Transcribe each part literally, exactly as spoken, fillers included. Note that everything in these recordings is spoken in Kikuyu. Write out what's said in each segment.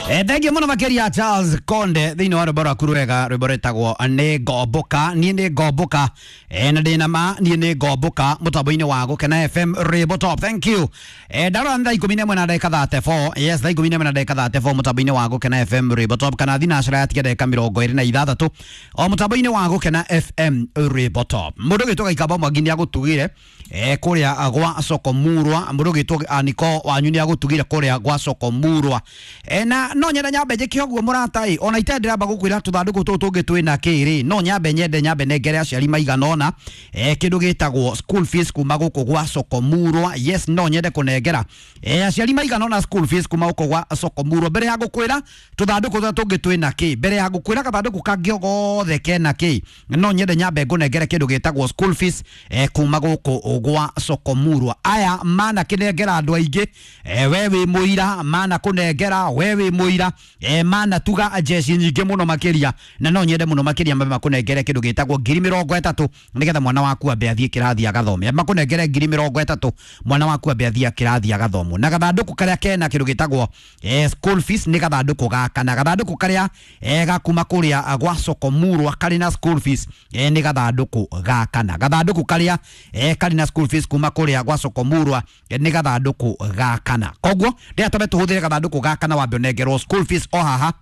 Eh, thengiå må no makä Charles Konde thä inä wa rwä mbo rwaku rwega rwä mbo rwätagwo nä ngomboka. Niä nä ngomboka eh, na ndä na ma niä nä ngomboka må tambo-inä wa gå kena F M Rwĩmbo Top. Thank you. eh, ndarora nĩ thaa ikũmi na ĩmwe na ndagĩka thirty-four. Yes, thaa ikũmi na ĩmwe na ndagĩka thirty-four mũtambo-inĩ wa Gũkena F M Rwĩmbo Top, kana thinacara yatiga ndagĩka mĩrongo ĩrĩ na ithathatũ o mũtambo-inĩ wa Gũkena F M Rwĩmbo Top. Mũndũ ũgĩtwo Gaikamba Mwangi nĩ agũtugire eh, kũrĩa gwa Soko Murwa. Mũndũ ũgĩtwo Aniko wanyu nĩ agũtugire kũrĩa gwa Soko Murwa. eh, na no nyenda nyambe njĩke ũguo mũrata ĩ, ona itarĩ ndĩramba gũkwĩra tũthandũkũ tũtũ tũngĩ twĩna kĩ rĩ, no nyambe nyende nyambe nengere aciari maigana ũna eh, kĩndũ gĩtagwo school fees kuma gũkũ gwa Soko Murwa. Yes, no nyende kũnengera eh, aciari maigana ũna school fees kuma gũkũ gwa Soko Murwa. Mbere ya gũkwĩra tũthandũkũ tũrĩa tũngĩ twĩna kĩ, mbere ya gũkwĩra gathandũkũ kangĩ o gothe kena kĩ, no nyende nyambe ngũnengere kĩndũ gĩtagwo school fees eh, kuma gũkũ gwa Soko Murwa. Aya mana kĩnengera andũ aingĩ eh, we wĩ mũira mana kũnengera, we wĩ mũira eh, mana tuga jeshi nyingĩ mũno makĩria, na no nyende mũno makĩria mambe makũnengere kĩndũ gĩtagwo ngiri mĩrongo ĩtatũ nĩgetha mwana waku ambe athiĩ kĩrathi agathome. Makũnengere ngiri mĩrongo ĩtatũ mwana waku ambe athiĩ kĩrathi agathomwo. Na gathandũkũ karĩa kena kĩndũ gĩtagwo eh, school fees nĩ gathandũkũ gaka, na gathandũkũ karĩa eh, gakuma kũrĩa gwa Soko Murwa karĩ na school fees eh, nĩ gathandũkũ gaka, na gathandũkũ karĩa eh, karĩ na school fees kuma kũrĩa gwa Soko Murwa eh, nĩ gathandũkũ gaka. Na koguo ndĩra twambe tũhũthĩre gathandũkũ gaka na wambe ũnengerwo school fees o haha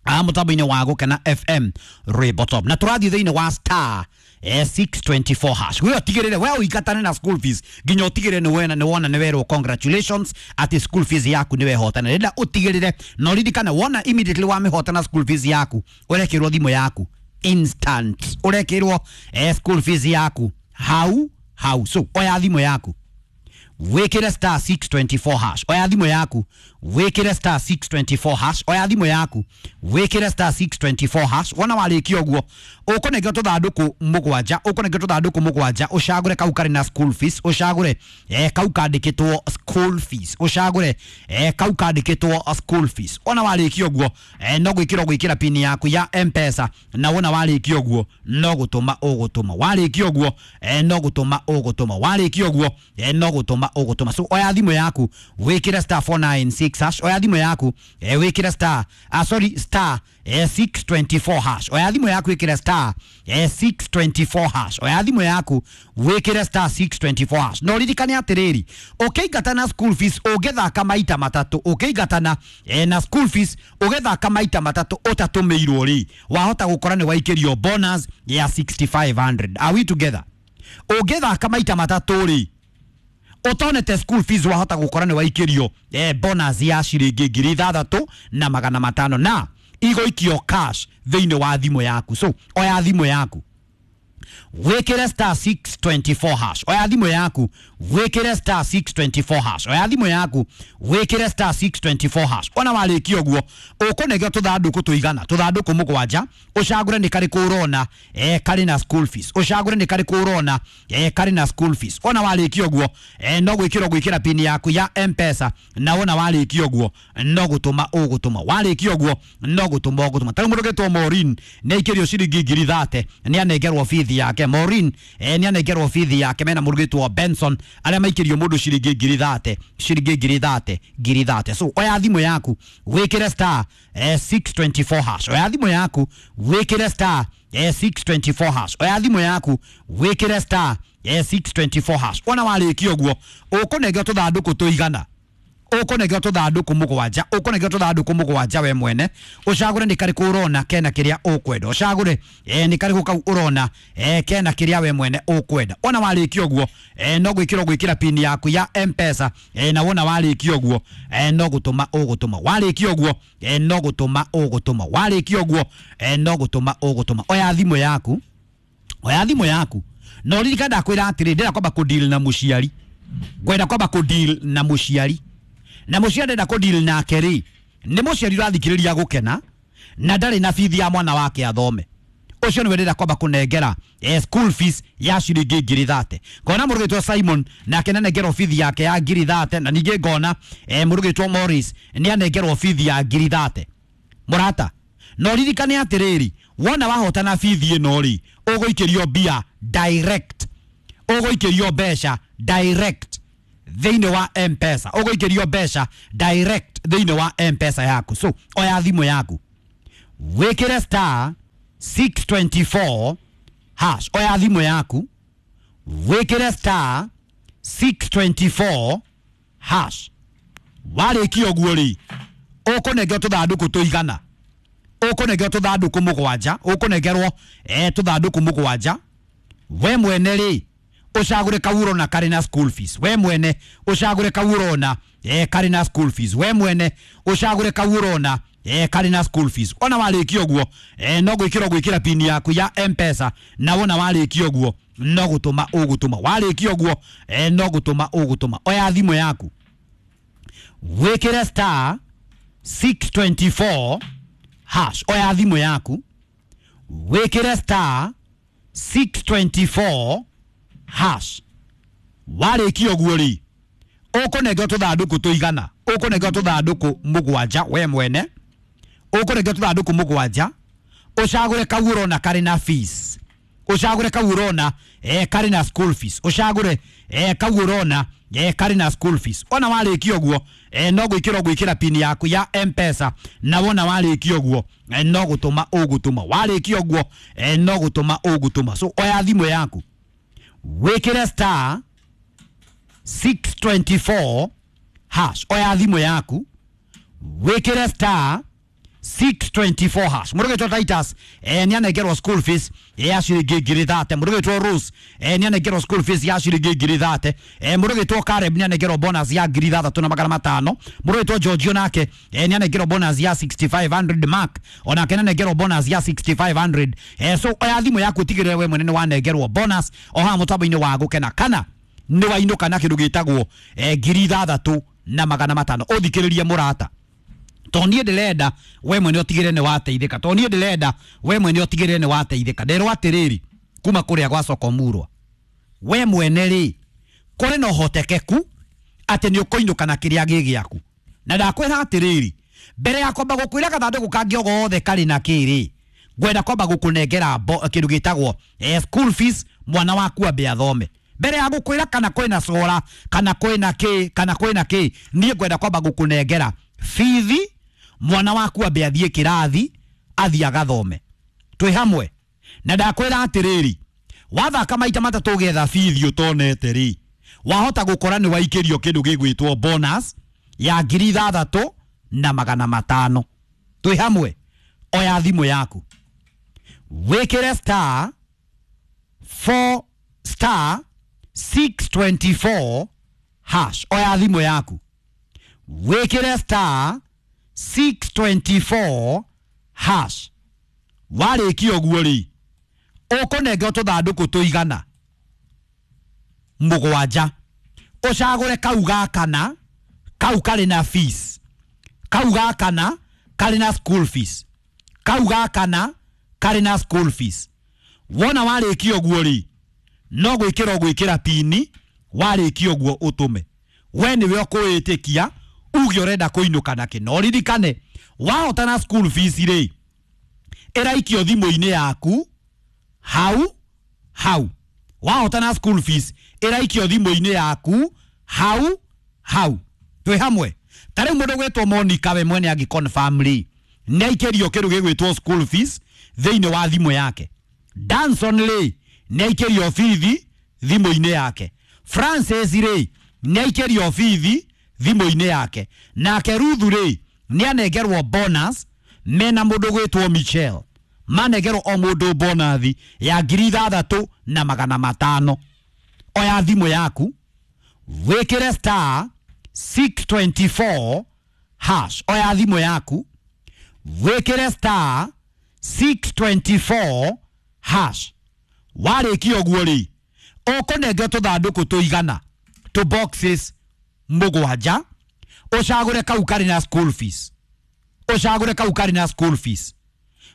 a mũtambo-inĩ wa Gũkena F M Rwĩmbo Top. Na tũrathiĩ thĩinĩ wa star eh, six twenty-four hash. We ũtigĩrĩre we ũingatane na school fees nginya ũtigĩrĩre nĩ wena nĩ wona nĩ werwo congratulations atĩ school fees yaku nĩ wehotana. Rĩrĩa ũtigĩrĩre na ũririkane wona immediately wamĩhotana school fees yaku ũrekĩrwo thimũ yaku instant, ũrekĩrwo eh, school fees yaku hau hau. So oya thimũ yaku wikire star six twenty-four hash, oya thimũ yaku wikire star six twenty-four hash, oya thimũ yaku wikire star six twenty-four hash. Wona warĩkia ũguo ũkũnengera tũthandũkũ mũgwanja, ũkũnengera tũthandũkũ mũgwanja, ũcagũre kau karĩ na school fees, ũcagũre eh, kau kandĩkĩtwo school fees, ũcagũre eh, kau kandĩkĩtwo school fees. Wona warĩkia ũguo eh, no gwĩkĩra gwĩkĩra pin yaku ya M-Pesa, na wona warĩkia ũguo no gũtũma ũgũtũma, warĩkia ũguo eh, no gũtũma ũgũtũma, warĩkia ũguo eh, no gũtũma ũgũtũma. So oya thimũ yaku wĩkĩre star four nine six hash, oya thimũ yaku eh, wĩkĩre star ah, sorry star eh, six twenty-four hash, oya thimũ yaku wĩkĩre star eh, six twenty-four hash, oya thimũ yaku wĩkĩre star six twenty-four hash. No ririkane atĩrĩrĩ, ũkĩingatana school fees ũngĩthaka maita matatũ, ũkĩingatana eh, na school fees ũgĩthaka maita matatũ ũtatũmĩirwo rĩ, wahota gũkora nĩ waikĩrio bonus ya sixty-five hundred. Are we together? Ũngĩthaka maita matatũ rĩ utonete school fees wahota gukora ni waikirio eh, bonus ya ciringi ngiri ithathatũ na magana matano na igoikio cash thiini wa thimu yaku. So oya thimu yaku wikire star six twenty-four hash, oya thimu yaku wikire star six twenty-four hash, oya thimu yaku wikire star six twenty-four hash. Ona warĩkia ũguo ũkũnengera tũthandũkũ tũigana tũthandũkũ mũgwanja, ũcagũre nĩ karĩkũ ũrona eh, karĩ na school fees, ũcagũre nĩ karĩkũ ũrona eh, karĩ na school fees. Ona warĩkia ũguo eh, no gwĩkĩra gwĩkĩra pin yaku ya M-Pesa, na wona warĩkia ũguo no gũtũma ũgũtũma, warĩkia ũguo no gũtũma ũgũtũma. Tarĩu mũndũ ũgĩtwo Maureen nĩ aikĩrio ciringi ngiri thate nĩ anengerwo bithi yake. Maureen eh, nĩ anengerwo bithi yake mena mũndũ ũgĩtwo Benson arĩa maikĩrio mũndũ ciringi ngiri thate, ciringi ngiri thate, ngiri thate. So oya thimũ yaku wĩkĩre star eh, six twenty-four hash, oya thimũ yaku wĩkĩre star eh, six twenty-four hash, oya thimũ yaku wĩkĩre star eh, six twenty-four hash. Ona warĩkia ũguo ũkũnengera tũthandũkũ tũigana, ũkũnengera tũthandũkũ mũgwanja, ũkũnengera tũthandũkũ mũgwanja we mwene, ũcagũre nĩ karĩkũ ũrona kena kĩrĩa ũkwenda, ũcagũre eh, nĩ karĩkũ kau ũrona eh, kena kĩrĩa we mwene ũkwenda. Ona warĩkia ũguo eh, no gwĩkĩra gwĩkĩra pin yaku ya M-Pesa eh, na wona warĩkia ũguo eh, no gũtũma ũgũtũma, warĩkia ũguo eh, no gũtũma ũgũtũma, warĩkia ũguo eh, no gũtũma ũgũtũma. Oya thimũ yaku, oya thimũ yaku na ũririkane ndakwĩra atĩrĩ, ndĩrenda kwamba kũdeal na mũciari, ngwenda kwamba kũdeal na mũciari, na mũciari ndenda kũdeal nake rĩ, nĩ mũciari ũrathikĩrĩria Gũkena na ndarĩ na bithi ya mwana wake athome, ũcio nĩwe ndĩrenda kwamba kũnengera eh, school fees ya ciringi ngiri thate. Ngona mũndũ ũgĩtwo Simon nake nĩanengerwo bithi yake ya ngiri thate, na ningĩ ngona eh, mũndũ ũgĩtwo Morris nĩanengerwo bithi ya ngiri thate. Mũrata, no ririkane atĩrĩrĩ, wona wahotana bithi ĩno rĩ, ũgũikĩrio mbia direct, ũgũikĩrio mbeca direct thĩinĩ wa M-Pesa, ũgũikĩrio mbeca direct direct thĩinĩ wa M-Pesa yaku. So oya thimũ yaku, wĩkĩre star six twenty-four hash. Oya thimũ yaku, wĩkĩre star six twenty-four hash. Warĩkia ũguo rĩ, ũkũnengerwo tũthandũkũ tũigana, ũkũnengerwo tũthandũkũ mũgwanja, ũkũnengerwo eh tũthandũkũ mũgwanja. We mwene rĩ, ũcagũre kau ũrona karĩ na school fees. We mwene ũcagũre kau ũrona eh karĩ na school fees. We mwene ũcagũre kau ũrona eh karĩ na school fees. Ona warĩkia ũguo eh no gwĩkĩra gwĩkĩra pin yaku ya M-Pesa, na wona warĩkia ũguo no gũtũma ũgũtũma. Warĩkia ũguo eh no gũtũma ũgũtũma. Oya thimũ yaku, wĩkĩre star six twenty-four hash. Oya thimũ yaku, wĩkĩre star six twenty-four hash. Warĩkia ũguo rĩ, ũkũnengerwo tũthandũkũ tũigana, ũkũnengerwo tũthandũkũ mũgwanja. We mwene ũkũnengerwo tũthandũkũ mũgwanja, ũcagũre kau ũrona karĩ na fees, ũcagũre kau ũrona eh karĩ na school fees, ũcagũre eh kau ũrona eh karĩ na school fees. Ona warĩkia ũguo eh no gwĩkĩra gwĩkĩra pin yaku ya M-Pesa, na wona warĩkia ũguo eh no gũtũma ũgũtũma. Warĩkia ũguo eh no gũtũma ũgũtũma. So oya thimũ yaku, wĩkĩre star six twenty-four hash. Oya thimũ yaku, wĩkĩre star six twenty-four hash. Mũrũgĩtwo Titus eh nĩ anengerwo school fees ya ciringi ngiri thate. Mũrũgĩtwo Rose eh nĩ anengerwo school fees ya ciringi ngiri thate. Eh mũrũgĩtwo Caleb nĩ anengerwo bonus ya ngiri ithathatũ na magana matano. Mũrũgĩtwo Giorgio nake eh nĩ anengerwo bonus ya sixty-five hundred. Mark onake nĩ anengerwo bonus ya sixty-five hundred. Eh so oya thimũ yaku ũtigĩrĩre we mwene nĩ wanengerwo bonus o haha mũtambo-inĩ wa Gũkena, kana nĩ wainũka na kĩndũ gĩtagwo eh ngiri ithathatũ na magana matano. Ũthikĩrĩrie mũrata, to niĩ ndĩrenda we mwene ũtigĩrĩre nĩ wateithĩka, to niĩ ndĩrenda we mwene ũtigĩrĩre nĩ wateithĩka. Nderwo atĩrĩrĩ kuma kũrĩa gwa Sokomurwa, we mwene rĩ, kũrĩ na ũhotekeku atĩ nĩ ũkũinũka na kĩrĩa gĩ gĩaku. Na ndakwĩra atĩrĩrĩ, mbere ya kwamba gũkwĩra gathandũkũ kangĩ o gothe karĩ na kĩrĩ, ngwenda kwamba gũkũnengera kĩndũ gĩtagwo eh, school fees, mwana waku ambe athome. Mbere ya gũkwĩra kana kwĩna cora kana kwĩna kĩ kana kwĩna kĩ, niĩ ngwenda kwamba gũkũnengera bithi, mwana waku ambe athiĩ kĩrathi, athiĩ agathome. Twĩ hamwe. Na ndakwĩra atĩrĩrĩ, wathaka maita matatũ ũgetha bithi ũtonete rĩ, wahota gũkora nĩ waikĩrio kĩndũ gĩgwĩtwo bonus ya ngiri ithathatũ na magana matano. Twĩ hamwe. Oya thimũ yaku, wĩkĩre star four star six twenty-four hash. Oya thimũ yaku, wĩkĩre star six twenty-four hash. Warĩkia ũguo rĩ, ũkũnengerwo tũthandũkũ tũigana mũgwanja, ũcagũre kau ga kana kau karĩ na fees, kau ga kana karĩ na school fees, kau ga kana karĩ na school fees. Wona warĩkia ũguo rĩ, no gwĩkĩra gwĩkĩra pini, warĩkia ũguo ũtũme. We nĩwe ũkũĩtĩkia uge ũrenda kũinũka nakĩ. No ririkane, wahota na school fees rĩ, ĩraikio thimũ-inĩ yaku hau hau. Wahota na school fees ĩraikio thimũ-inĩ yaku hau hau. Twĩ hamwe. Ta rĩu mũndũ gwĩtwo Monica we mwene angĩ confirm rĩ, nĩ aikĩrio kĩndũ gĩgwĩtwo school fees thĩinĩ wa thimũ yake. Danson rĩ, nĩ aikĩrio bithi thimũ-inĩ yake. Francis rĩ, nĩ aikĩrio bithi thimũ-inĩ yake. Nake Ruth rĩ, nĩ anengerwo bonus mena mũndũ gwĩtwo Michelle. Manengerwo o mũndũ bonathi ya ngiri ithathatũ na magana matano. Oya thimũ yaku, wĩkĩre star six twenty-four hash. Oya thimũ yaku, wĩkĩre star six twenty-four hash. Warĩkia ũguo rĩ, ũkũnengerwo tũthandũkũ tũigana tũ boxes mũgwanja, ũcagũre kau karĩ na school fees, ũcagũre kau karĩ na school fees.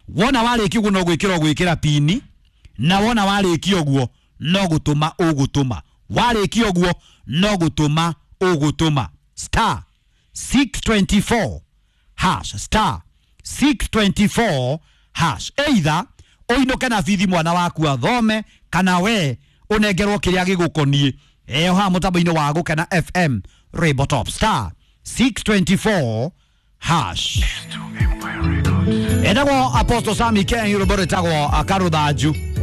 Wona warĩkia ũguo no gwĩkĩra gwĩkĩra pini, na wona warĩkia ũguo no gũtũma ũgũtũma. Warĩkia ũguo no gũtũma ũgũtũma. Star six twenty-four hash, star six twenty-four hash. Either ũinũke na bithi mwana waku athome, kana we ũnengerwo kĩrĩa gĩgũkoniĩ. Eh haha mũtambo-inĩ wa Gũkena F M Rainbow Top, star six twenty-four hash. Etagwo Apostle Sami Ken, rwĩmbo rwĩtagwo Karũthanju.